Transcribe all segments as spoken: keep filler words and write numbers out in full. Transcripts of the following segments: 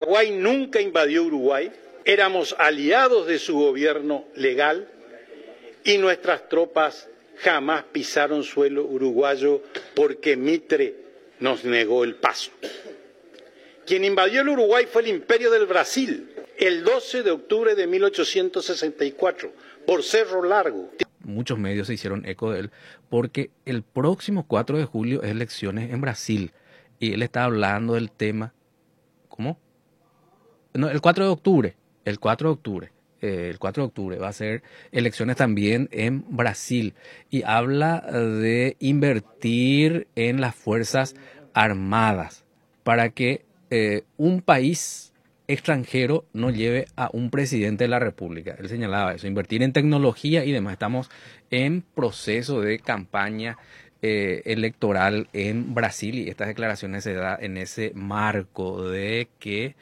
Paraguay nunca invadió Uruguay, éramos aliados de su gobierno legal y nuestras tropas jamás pisaron suelo uruguayo porque Mitre nos negó el paso. Quien invadió el Uruguay fue el Imperio del Brasil el doce de octubre de mil ochocientos sesenta y cuatro por Cerro Largo. Muchos medios se hicieron eco de él porque el próximo cuatro de julio es elecciones en Brasil y él está hablando del tema. ¿Cómo? No, el cuatro de octubre, el cuatro de octubre. Eh, el cuatro de octubre va a ser elecciones también en Brasil y habla de invertir en las Fuerzas Armadas para que eh, un país extranjero no lleve a un presidente de la República. Él señalaba eso, invertir en tecnología y demás. Estamos en proceso de campaña eh, electoral en Brasil y estas declaraciones se da en ese marco de que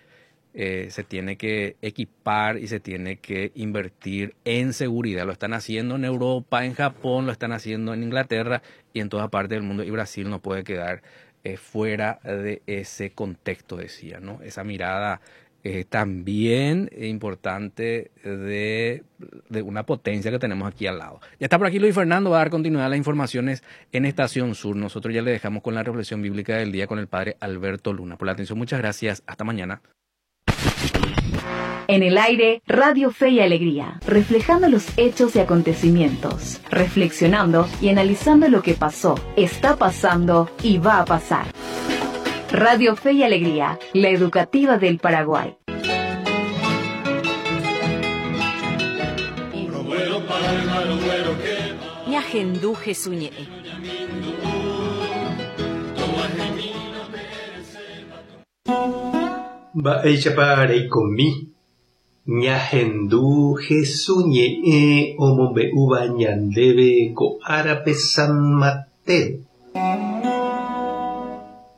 eh, se tiene que equipar y se tiene que invertir en seguridad. Lo están haciendo en Europa, en Japón, lo están haciendo en Inglaterra y en toda parte del mundo y Brasil no puede quedar eh, fuera de ese contexto, decía, ¿no? Esa mirada eh, también importante de, de, una potencia que tenemos aquí al lado. Ya está por aquí Luis Fernando, va a dar continuidad a las informaciones en Estación Sur. Nosotros ya le dejamos con la reflexión bíblica del día con el padre Alberto Luna. Por la atención, muchas gracias. Hasta mañana. En el aire, Radio Fe y Alegría, reflejando los hechos y acontecimientos, reflexionando y analizando lo que pasó, está pasando y va a pasar. Radio Fe y Alegría, la educativa del Paraguay. Ñahendu Jesús ñe'ẽ. Mba'éichapa reikomi. Ñahendu Jesús ñe'ẽ omombe'úva ñandéve ko árape San Mateo.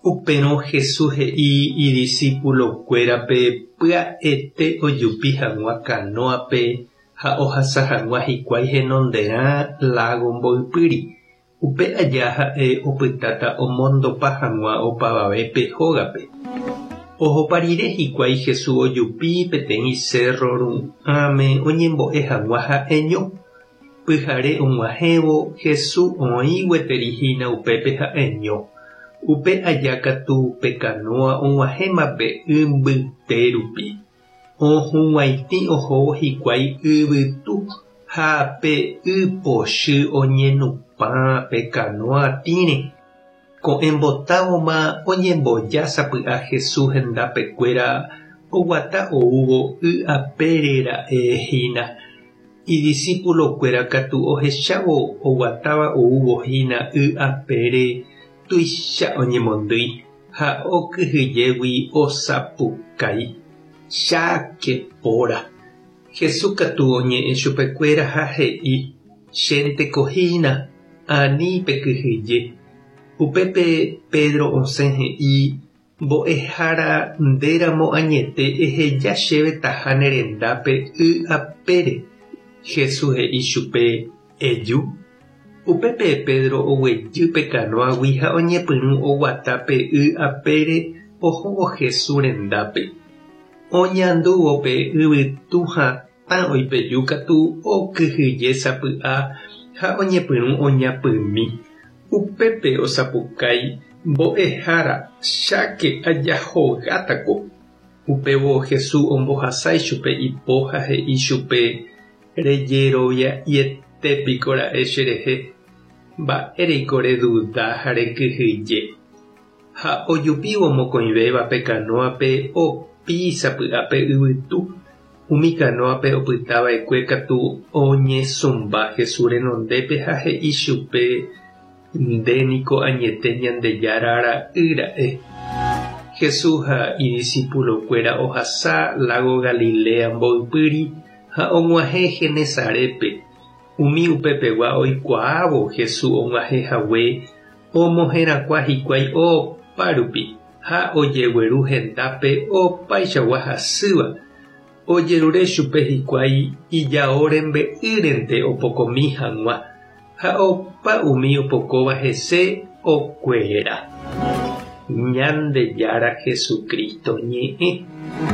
Upérõ Jesús he'i idiscipulokuérape pya'ete ojupi hag̃ua kanóape ha ohasa hag̃ua hikuái henonderã lago mboypýri. Upe aja ha'e opytáta omondopa hag̃ua opavavépe hógape. Ohopa rire hikuái Jesús ojupi peteĩ cerro ru'ãme oñembo'e hag̃ua ha'eño. Pyhare og̃uahẽvo Jesús oĩ gueteri hína upépe ha'eño. Upe aja katu pe kanóa og̃uahẽma pe y mbyte rupi. Ohug̃uaitĩ ohóvo hikuái yvytu ha pe y pochy oñenupã pe kanóa tĩre. Ko'ẽmbotávoma oñemboja sapy'a Jesús hendapekuéra oguata oúvo y apére ra'e hína. Idiscipulokuéra katu ohechávo oguatáva oúvo hína y apére tuicha oñemondýi ha okyhyjégui osapukái. Cháke póra. Jesús katu oñe'ẽ chupekuéra ha he'i: Chénteko hína, ani pekyhyje. Upépe Pedro osẽ he'i: Mbo'ehára, ndéramo añete eheja chéve taha ne rendápe y apére. Jesús he'i chupe: Eju. Upépe Pedro oguejy pe kanóagui ha oñepyrũ oguata pe y apére ohóvo Jesús rendápe. Oñandúvo pe yvytu hatã oipeju katu okyhyje sapy'a ha oñepyrũ oñapymi. Upépe osapukái: Mbo'ehára, cháke ajahogátako. Upévo Jesús ombohasa ichupe ipo ha he'i chupe: Rejerovia'ietépiko ra'e cherehe. Mba'éreiko reduda ha rekyhyje. Ha ojupívo mokõivéva pe kanóape opi sapy'a pe yvytu. Umi kanóape opytava'ekue katu oñesũmba Jesús renondépe ha he'i chupe: Ndéniko añete Ñandejára ra'y ra'e. Jesús ha idiscipulokuéra ohasa lago Galilea mboypýri ha og̃uahẽ Genesarépe. Umi upepegua oikuaávo Jesús og̃uahẽhague omoherakuã hikuái opárupi ha ojegueru hendápe opaichagua hasýva. Ojerure chupe hikuái ijao rembe'ýrente opokomi hag̃ua ha opa umi opokóva hese okuera. Ñandejára Jesucristo ñe'ẽ.